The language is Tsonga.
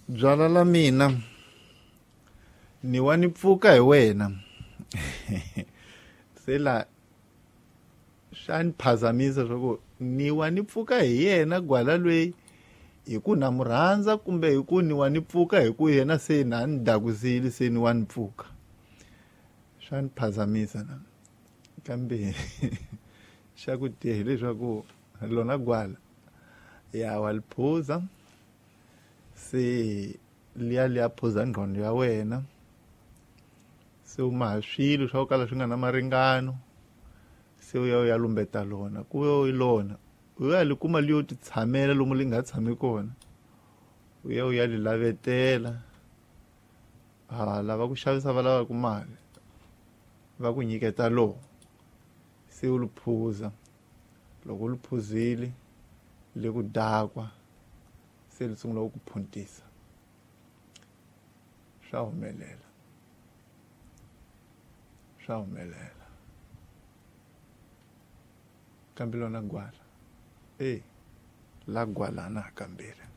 Byala la mina ni wa ni pfuka hi wena. Se la swa ni phazamisa swa ku ni wa ni pfuka hi yena gwala lweyi hi ku na mu rhandza kumbe hi ku ni wa ni pfuka hi ku yena se na ni dakusile se ni wa ni pfuka. Swa ni phazamisa na kambe xa ku tiya hileswaku lona gwala ya wa li phuza se liya liya phuza nqondo ya wena se u maha swilo swa ku kala swi nga na maringano se u ya u ya lumbeta lona ku yo lona u ya li kuma li yo ti tshamela lomu li nga tshami kona u ya u ya li lavetela ha lava ku xavisa va lavaka mali va ku nyiketa lowo se u li phuza loko u li phuzile le ku dakwa se li sungula ku phuntisa swa humelela swa humelela kambe lona gwala e la gwalana kambirhi.